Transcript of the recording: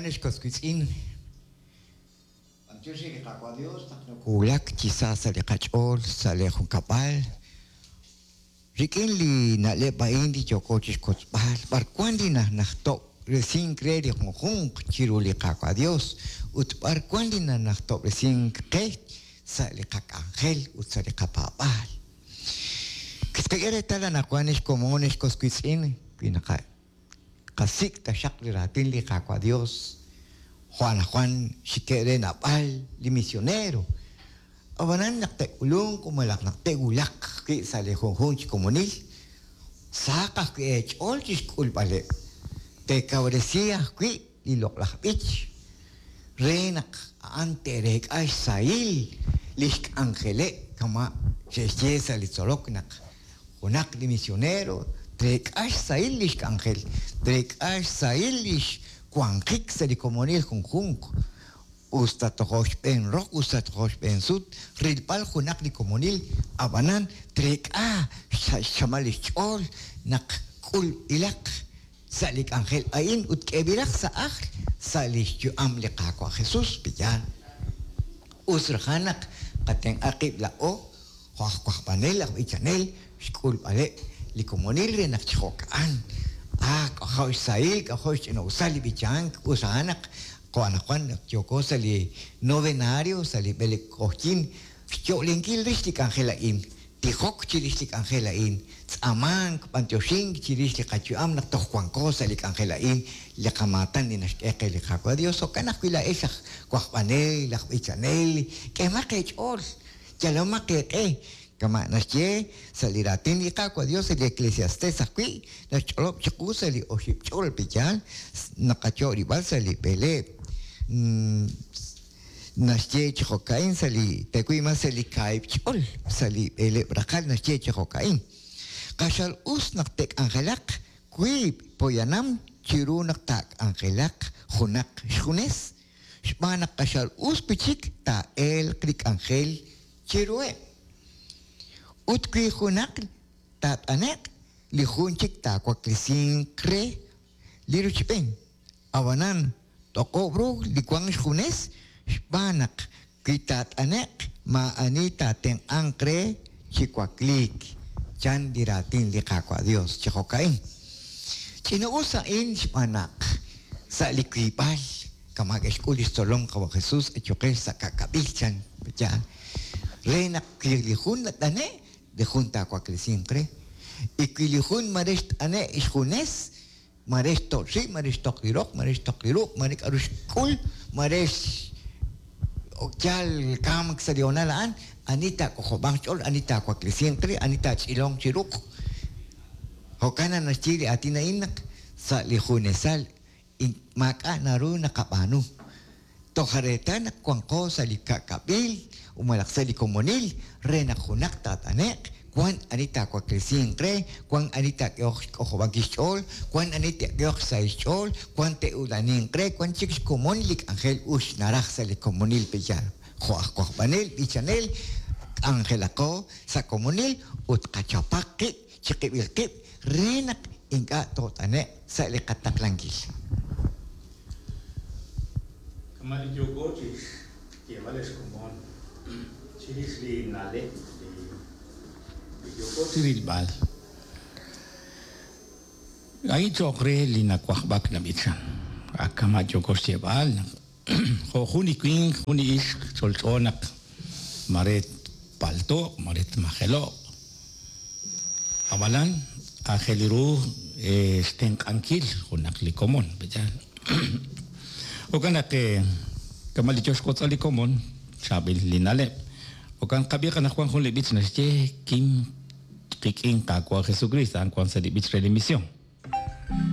ex was wiitz'in, b'antiox re li Qaawa' Dios naq nokowulak chi sa sa' li qach'ool sa' lee junkab'al rik'in li na'leb' a'in li yooko chixwotzb'al b'ar wan li nanajtob'resink re li junjunq chiru li Qaawa' Dios ut b'ar wan li nanajtob'resink qe sa' li qak'anjel ut sa' li qapaab'aal. Qak'e reetal anaqwan ex komon ex was wiitz'in wi naqasik' taxaq li raatin li Qaawa' Dios jo' anaqwan xike' re naab'al li misionero. Ab'anan naq te'k'ulunq malaj naq te'wulaq wi' sa' li junjunq chi komonil, sahaq ajwi' eech'ool chixk'ulb'aleb'. Teekawresi ajwi' li loq'laj b'ich re naq a'an te'reek'a xsahil lix k'anjeleb' kama' xe'xye sa' li tzolok naq junaq li misionero treek'a xsahil lix k'anjel, treek'a xsahil lix wanjik sa' li komonil junjunq, us ta tojo' xb'een roq us ta tojo' xb'een sut rilb'al junaq li komonil, ab'anan treek'a sa' xchamal lix ch'ool naq k'ulb'ilaq sa' li k'anjel a'in ut k'eeb'ilaq sa' ajl sa' lix yu'am li Qaawa' Jesus, pe'yaal? Us rajan naq qatenq'a qib' laa'o jo' aj wajb'anel, aj b'ichanel, xk'ulb'aleb' li komonil re naq chi jo'ka'an, ah, k'ajo' xsahil, k'ajo' xch'ina'usal li b'ichank, us a'an naq jo' anaqwan naq yooko sa' li novenario, sa' li b'eleb' q'ojyin, xyo'lenkil rix li k'anjel a'in, tijok chirix li k'anjel a'in, tz'aamank, b'antioxink chirix li qayu'am naq toj wanko sa' li k'anjel a'in, li qamaatan li naxk'e qe li Qaawa' Dios. Jo'kan ajwi' laa'ex aj wajb'anel, aj b'ichanel, k'ehomaq eech'ool, yalomaq eeq'e, kama' naxye sa' li raatin li Qaawa' Dios sa' li Eclesiastes ajwi' naxch'olob' chiqu sa' li oxib' ch'ol pe'yaal naqayo' rib'al sa' li b'eleeb'. Naxye chi jo'ka'in sa' li tewi' mas sa' li kaahib' ch'ol sa' li b'eleeb' raqal naxye chi jo'ka'in, Q'axal us naq te'k'anjelaq wiib' poyanam chiru naq taak'anjelaq junaq xjunes, xb'aan naq q'axal us wi' chik taa'elq li k'anjel chiruheb'. Ut wi junaq taat'ane'q, li jun chik taawaklesinq re li rochb'een. Ab'anan, toq'ob' ru li wank xjunes xb'aan naq wi taat'ane'q maa'ani taatenq'anq re chi wakliik, chan li raatin li Qaawa' Yos chi jo'ka'in. Ch'ina'us a'in xb'aan naq sa' li wiib'al kama' ke'xk'ul li xtzolom Qawa' Jesus ayuqex sa' ka'kab'il, chan yaal, re naq wi li jun nat'ane', li jun taawaklesinq re, y wi li jun mare xt'ane' xjunes, Mare xtoch' rib', mare xtoq li roq, mare xtoq li ruq', mare k'a'ru xk'ul, mare xyal kamk sa' li hoonal a'an, ani taak'ojob'anq xch'ool, ani taawaklesinq re, ani taach'ilonq chi ruq'. Jo'kan naq naxye li aatin a'in naq sa' li junesal maak'a' naru naqab'aanu. Toj reetal naq wanqo sa' li ka'kab'il malaj sa' li komonil re naq junaq taat'ane'q, wan ani taawaklesinq re, wan ani taak'ehoq xk'ojob'ankil xch'ool, wan ani te'k'ehoq xsahil xch'ool, wan te'ula'aninq re, wan chik xkomon li k'anjel us naraj sa' li komonil pe'yaal. Jo' aj wajb'anel, b'ichanel, k'anjelaqo sa' komonil ut qachapaq qib' chiqib'il qib' re naq ink'a' toot'ane'q sa' li qataqlankil. Kama' li yooko chi xyeeb'al ex komon chirix li na'leb' li yooko chi rilb'al, a'in cho'q re li nawajb'ak nab'ichan. Ak kama' yooko xyeeb'al naq jo' jun li winq, jun li ixq ch'olch'o naq mare tpalto'q, mare tmajelo'q. Ab'anan aajel ru xtenq'ankil junaq li komon, pe'yaal? Jo'kan naq kama' li yo xwotz'al li komon, chaab'il li na'leb'. Jo'kan qab'iiq anaqwan jun li b'ich naxye, Kim qik'in Qaawa' Jesukriist, a'an wank sa' li b'ich re li mision.